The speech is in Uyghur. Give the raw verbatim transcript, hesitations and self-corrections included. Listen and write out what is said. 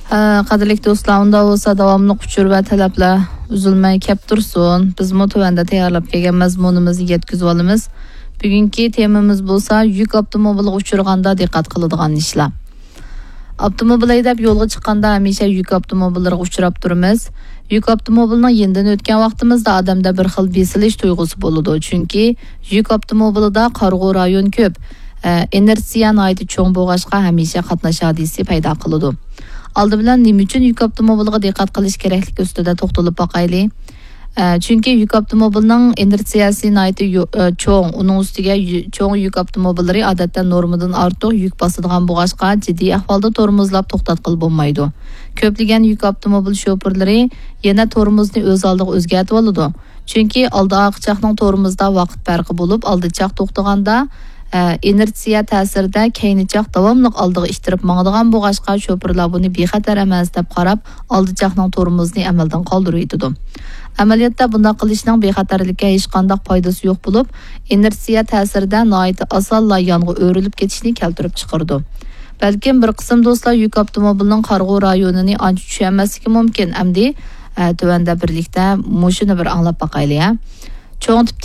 ئە، قەدىرلىك دوستلار، ئۇنداق بولسا داۋاملىق ئۇچۇر ۋە تەلەپلەر ئۈزۈلمەي كەپ تۇرسۇن. بىزمۇ تۆۋەندە تەييارلاپ كەلگەن مەزمۇنىمىزنى يەتكۈزۈۋالىمىز. بۈگۈنكى تېمىمىز بولسا يۈك ئاپتوموبىلىغا ئۇچرىغاندا دىققەت قىلىدىغان ئىشلار. ئاپتوموبىل ھەيدەپ يولغا چىققاندا ھەمىشە يۈك ئاپتوموبىللىرىغا ئۇچراپ تۇرىمىز. يۈك ئاپتوموبىلنىڭ يېنىدىن ئۆتكەن ۋاقتىمىزدا ئادەمدە بىر خىل بېسىلىش تۇيغۇسى بولىدۇ، چۈنكى يۈك ئاپتوموبىلىدا قارىغۇ رايون كۆپ. ئە، ئىنېرتسىيە ناھايىتى چوڭ بولغاچقا، ھەمىشە قاتناش ھادىسىسى پەيدا قىلىدۇ. ئالدى بىلەن نېمە ئۈچۈن يۈك ئاپتوموبىلىغا دىققەت قىلىش كېرەكلىكى ئۈستىدە توختىلىپ باقايلى. ئە، چۈنكى يۈك ئاپتوموبىلنىڭ ئىنېرتسىيەسى ناھايىتى يو-، ئە، چوڭ، ئۇنىڭ ئۈستىگە يۈ-، چوڭ يۈك ئاپتوموبىللىرى ئادەتتە نورمىدىن ئارتۇق يۈك باسىدىغان بولغاچقا، جىددىي ئەھۋالدا تورمۇزلاپ توختاتقىلى بولمايدۇ. كۆپلىگەن يۈك ئاپتوموبىل شوپۇرلىرى يەنە تورمۇزنى ئۆز ئالدىغا ئۆزگەرتىۋالىدۇ. چۈنكى ئالدى ئارقا چاقنىڭ تورمۇزدا ۋاقىت پەرقى بولۇپ، ئالدى چاق توختىغاندا، ئە، ئىنېرتسىيە تەسىرىدە كەينى چاق داۋاملىق ئالدىغا ئىتتىرىپ ماڭىدىغان بولغاچقا، شوپۇرلار بۇنى بىخەتەر ئەمەس دەپ قاراپ، ئالدى چاقنىڭ تورمۇزىنى ئەمەلدىن قالدۇرۇۋېتىدۇ. ئەمەلىيەتتە بۇنداق قىلىشنىڭ بىخەتەرلىككە ھېچقانداق پايدىسى يوق بولۇپ، ئىنېرتسىيە تەسىرىدە ناھايىتى ئاسانلا يانغا ئۆرۈلۈپ كېتىشنى كەلتۈرۈپ چىقىرىدۇ. بەلكىم بىر قىسىم دوستلار يۈك ئاپتوموبىلىنىڭ قارىغۇ رايونىنى ئانچە چۈشەنمەسلىكى مۇمكىن. ئەمدى، ئە، تۆۋەندە بىرلىكتە مۇشۇنى بىر ئاڭلاپ باقايلى، ھە. چوڭ تىپتىكى